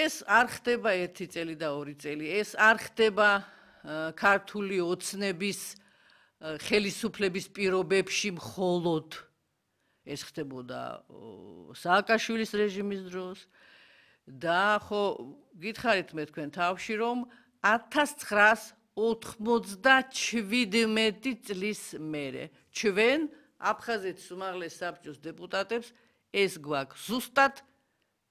ეს არ ხდება 1 წელი და 2 წელი, ეს არ ხდება ქართული ოცნების ხელისუფლების პირობებში მხოლოდ. ეს ხდებოდა სააკაშვილის რეჟიმის დროს და ხო გითხარით მე თქვენ თავში რომ 1997 წლის მერე ჩვენ აფხაზეთის უმაღლეს საბჭოს დეპუტატებს ეს გვაქვს ზუსტად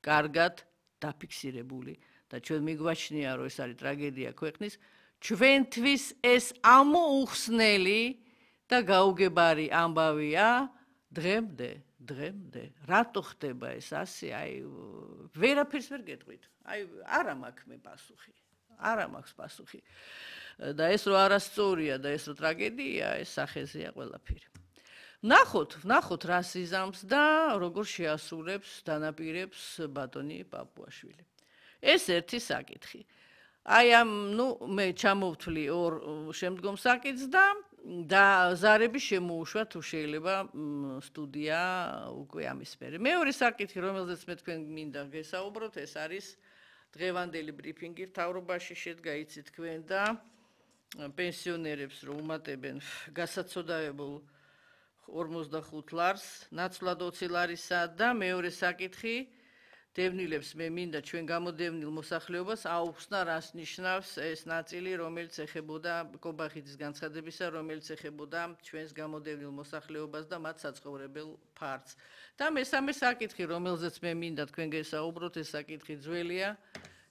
კარგად დაფიქსირებული და ჩვენ მიგვაჩნია რომ ეს არის ტრაგედია ქვეყნის ჩვენთვის ეს ამოუხსნელი და გაუგებარი ამბავია დღემდე რატო ხდება ეს ასე აი ვერაფერს ვერ გეტყვით აი არა მაქვს მე პასუხი არა მაქვს პასუხი და ეს რო არასწორია და ეს რო ტრაგედია ეს სახეზეა ყველაფერი ნახოთ რა სიზამს და როგორ შეასრულებს დანაპირებს ბატონი პაპუაშვილი ეს ერთი საკითხი აი ამ მე ჩამოვთვლი ორ შემდგომ საკითხს და ზარები შემოუშვა თუ შეიძლება სტუდია უკვე ამისფერი მეორე საკითხი რომელზეც მე თქვენ მინდა გესაუბროთ ეს არის დღევანდელი ბრიფინგი მთავრობაში შედგა იცით თქვენ და პენსიონერებს რომ უმატებენ გასაცოდაებულ 45 ლარს ნაცვლად 20 ლარისა და მეორე საკითხი დევნილებს მე მინდა ჩვენ გამოდევნილ მოსახლეობას აუხსნა რას ნიშნავს ეს ნაწილი რომელიც ეხებოდა კობახიძის განცხადებისა რომელიც ეხებოდა ჩვენს გამოდევნილ მოსახლეობას და მათ საცხოვრებელ ფარდს და მესამე საკითხი რომელზეც მე მინდა თქვენ გესაუბროთ ეს საკითხი ძველია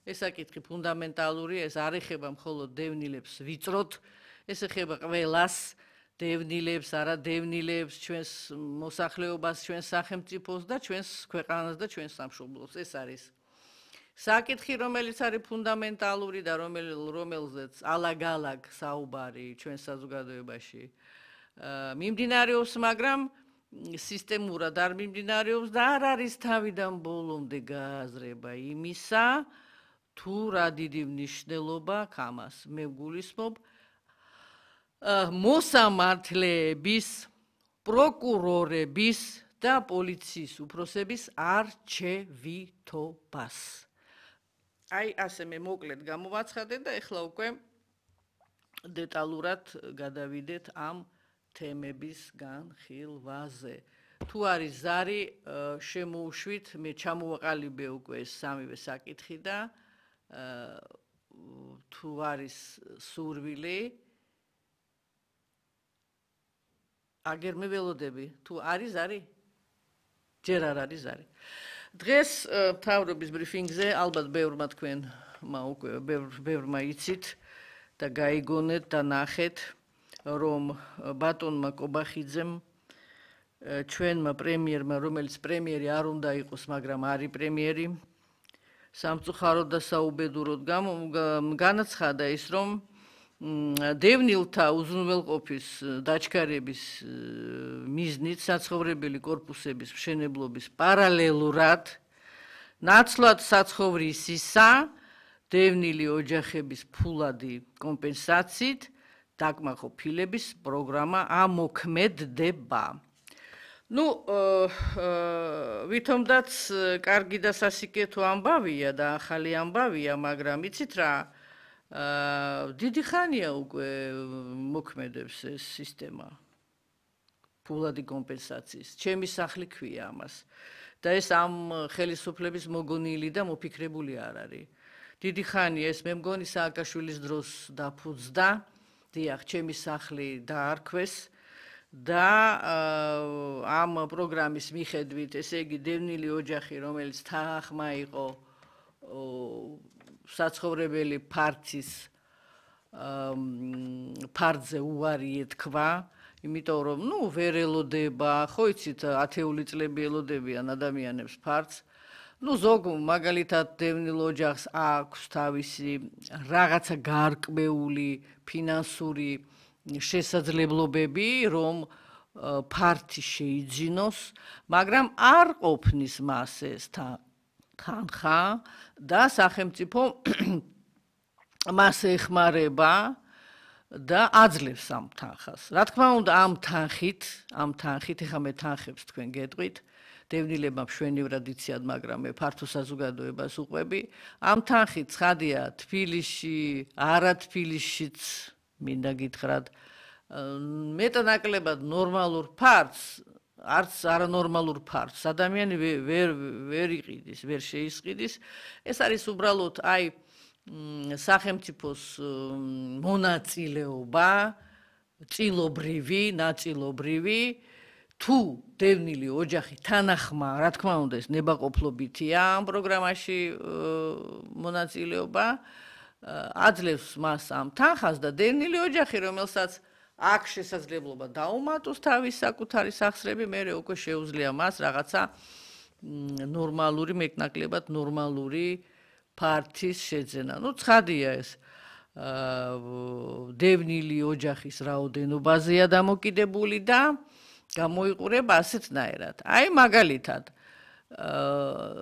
ეს საკითხი ფუნდამენტალური ეს არ ეხება მხოლოდ დევნილებს ვიწროთ ეს ეხება ყველას დევნილებს, არადევნილებს, ჩვენს მოსახლეობას, ჩვენს სახელმწიფოს და ჩვენს ქვეყანას და ჩვენს სამშობლოს. ეს არის საკითხი, რომელიც არის ფუნდამენტალური და რომელზეც ალაგ-ალაგ საუბარი ჩვენს საზოგადოებაში მიმდინარეობს, მაგრამ სისტემურად არ მიმდინარეობს და არ არის თავიდან ბოლომდე გააზრება იმისა, თუ რა დიდი მნიშვნელობა აქვს ამას. მე გულისხმობ მოსამართლეების, პროკურორების და პოლიციის უფროსების არჩევითობას. აი ასე მე მოკლედ გამოვაცხადე და ეხლა უკვე დეტალურად გადავიდეთ ამ თემების განხილვაზე. თუ არის ზარი შემოუშვით, მე ჩამოვაყალიბე უკვე ეს სამივე საკითხი და თუ არის სურვილი აგერ მე ველოდები თუ არის ზარი ჯერ არ არის ზარი დღეს მთავრობის ბრიფინგზე ალბათ ბევრმა თქვენმა უკვე ბევრმა იცით და გაიგონეთ და ნახეთ რომ ბატონმა კობახიძემ ჩვენმა პრემიერმა რომელიც პრემიერი არ უნდა იყოს მაგრამ არის პრემიერი სამწუხაროდ და საუბედუროდ განაცხადა ის რომ დევნილთა უზრუნველყოფის დაჩქარების მიზნით საცხოვრებელი კორპუსების მშენებლობის პარალელურად ნაცვლად საცხოვრისისა დევნილი ოჯახების ფულადი კომპენსაციით დაკმაყოფილების პროგრამა ამოქმედდება. ვითომდაც კარგი და სასიკეთო ამბავია და ახალი ამბავია, მაგრამ იცით რა დიდი ხანია უკვე მოქმედებს ეს სისტემა ფულადი კომპენსაციის. ჩემი სახლი ქვია ამას. და ეს ამ ხელისუფლების მოგონილი და მოფიქრებული არ არის. დიდი ხანია ეს მე მგონი სააკაშვილის დროს დაფუძდა. დიახ, ჩემი სახლი დაარქვეს და ამ პროგრამის მიხედვით, ესე იგი დევნილი ოჯახი, რომელიც თანახმა იყო საცხოვრებელი ფარცის ფარდზე უარი ეთქვა, იმიტომ რომ ვერ ელოდება, ხო იცით, ათეული წლები ელოდებიან ადამიანებს ფარდს. ზოგ მაგალითად დევნილ ოჯახს აქვს თავისი რაღაცა გარკვეული ფინანსური შესაძლებლობები, რომ ფართი შეიძინოს, მაგრამ არ ყოფნის მას ეს თანხა და სახელმწიფო მას ეხმარება და აძლევს ამ თანხას. რა თქმა უნდა, ამ თანხით, ეხლა მე თანხებს თქვენ გეტყვით, დევნილებმა მშვენივრად იციან, მაგრამ მე ფართო საზოგადოებას უყვები. ამ თანხით ცხადია თბილისში, არა თბილისშიც მინდა გითხრათ, მეტანაკლებად ნორმალურ ფართს, არც არანორმალურ ფართს ადამიანი ვერ იყიდის, ვერ შეისყიდის. ეს არის უბრალოდ აი სახელმწიფოს მონაწილეობა, წილობრივი, ნაწილობრივი, თუ დევნილი ოჯახი თანახმა, რა თქმა უნდა, ეს ნებაყოფლობითია ამ პროგრამაში მონაწილეობა, აძლევს მას ამ თანხას და დევნილი ოჯახი, რომელსაც აქ შესაძლებლობა დაუმატოს თავის საკუთარი სახსრები, მერე უკვე შეუძლია მას რაღაცა ნორმალური, მეტნაკლებად ნორმალური ფართის შეძენა. ნუ ცხადია ეს დევნილი ოჯახის რაოდენობაზეა დამოკიდებული და გამოიყურება ასეთნაირად. აი მაგალითად,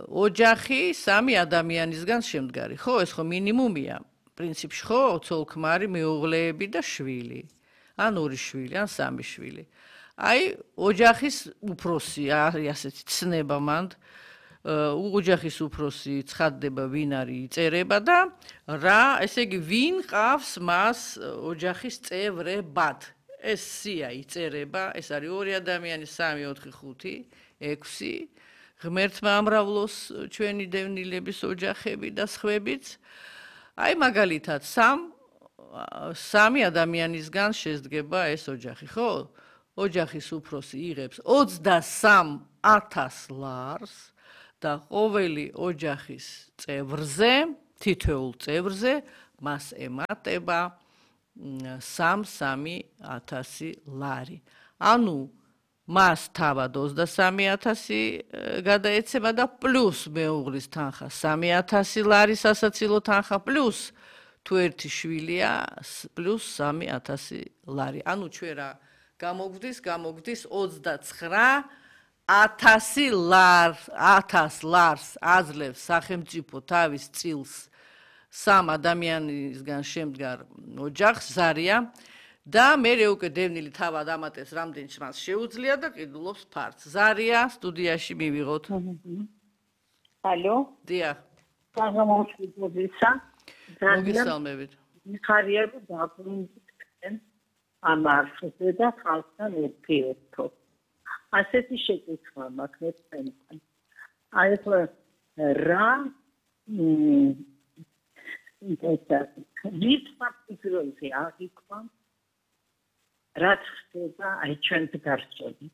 ოჯახი 3 ადამიანისგან შემდგარი, ხო, ეს ხო მინიმუმია. პრინციპში ხო, ცოლ-ქმარი, მეუღლეები და შვილი. ან 2 შვილი, ან 3 შვილი. აი, ოჯახის უფროსი, ასეთი ცნება მანდ, ოჯახის უფროსი ცხადდება, ვინ არის, იწერება და რა, ესე იგი, ვინ ყავს მას ოჯახის წევრებად. ეს სია იწერება, ეს არის 2 ადამიანი, 3, 4, 5, 6, ღმერთმა ამრავლოს ჩვენი დევნილების ოჯახები და სხვებიც. აი, მაგალითად, 3 ადამიანისგან შედგება ეს ოჯახი, ხო? ოჯახის უფროსი იღებს 23,000 ლარს და ყოველი ოჯახის წევრზე, თითოეულ წევრზე მას ემატება 3,000 ლარი. ანუ მას თავად 23,000 გადაეცემა და პლუს მეუღლის თანხა 3,000 ლარი სასაცილო თანხა პლუს თუ ერთი შვილია პლუს 3,000 ლარი. ანუ ჩვენ რა გამოგვდის 29,000 ლარს აძლევს სახელმწიფო თავის წილს 3 ადამიანისგან შემდგარ ოჯახს ზარია და მერე უკვე დევნილი თავად ამატებს რამდენიც მას შეუძლია და ყიდულობს ფართს. ზარია სტუდიაში მივიღოთ. ალო? დიახ. გამომშვიდობისა. მოგესალმებით. მიხარია რომ დაბრუნდნენ ამ არხზე და ხალხთან ერთიერთო. ასეთი შეკითხვა მაქვს თქვენთან. აი ახლა რა ვის ფაქტიურზე აღიქვა რაც ხდება აი ჩვენს გარშემო.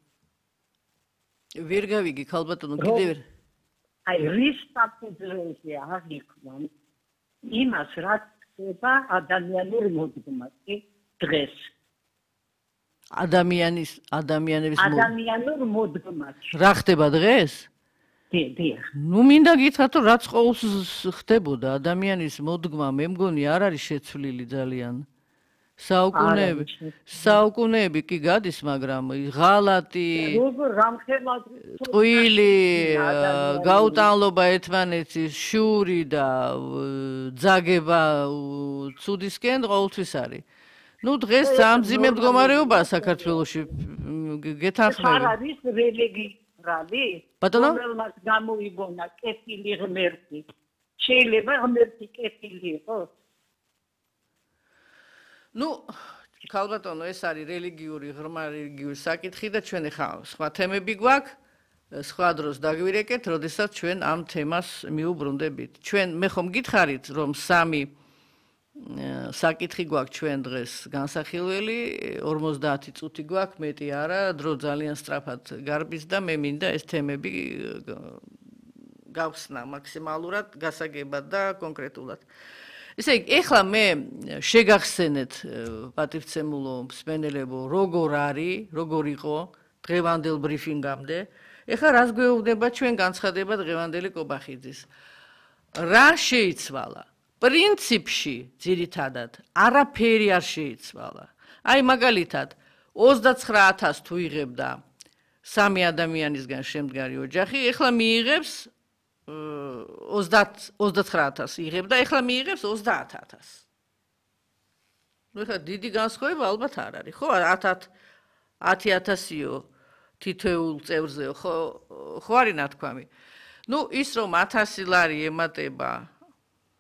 ვერ გავიგი ქალბატონო კიდევ აი ვის ფაქტიურზე აღიქვა იმას რაც ხდება ადამიანურ მოდგმაში დღეს. ადამიანურ მოდგმაში. რა ხდება დღეს? დიახ. ნუ მინდა გითხრათ რომ რაც ყოველს ხდებოდა ადამიანის მოდგმა მე მგონი არ არის შეცვლილი ძალიან. საუკუნეები კი გადის, მაგრამ ღალატი, ტყვილი, გაუტანლობა ერთმანეთის, შური და ძაგება ცუდისკენ ყოველთვის არის. ნუ დღეს სამძიმე მდგომარეობა საქართველოში გეთანხმები. არ არის რელიგიური, რომელმაც გამოიგონა კეთილი ღმერთი. შეიძლება ღმერთი კეთილი იყოს? ნუ ქალბატონო ეს არის რელიგიური ღრმა რელიგიური საკითხი და ჩვენ ახლა სხვა თემები გვაქვს, სხვა დროს დაგვირეკეთ, როდესაც ჩვენ ამ თემას მიუბრუნდებით. ჩვენ მე ხომ გითხარით რომ 3 საკითხი გვაქვს ჩვენ დღეს განსახილველი, 50 წუთი გვაქვს, მეტი არა, დრო ძალიან სწრაფად გარბის და მე მინდა ეს თემები გავხსნა მაქსიმალურად, გასაგებად და კონკრეტულად. ესე იგი, ეხლა მე შეგახსენეთ პატივცემულო მსმენელებო, როგორ არის, როგორ იყო დღევანდელ ბრიფინგამდე. ეხლა რას გვეუბნება ჩვენ განცხადება დღევანდელი კობახიძის. რა შეიცვალა? პრინციპში, ძირითადად, არაფერი არ შეიცვალა. აი მაგალითად, 29,000 თუ იღებდა 3 ადამიანისგან შემდგარი ოჯახი, ეხლა მიიღებს 29,000 იღებდა, ეხლა მიიღებს 30,000. ნუ ეხლა დიდი განსხვავება ალბათ არ არის, ხო? 10,000-იო თითოეულ წევრზე ხო არის ნათქვამი. ნუ ის რომ 1000 ლარი ემატება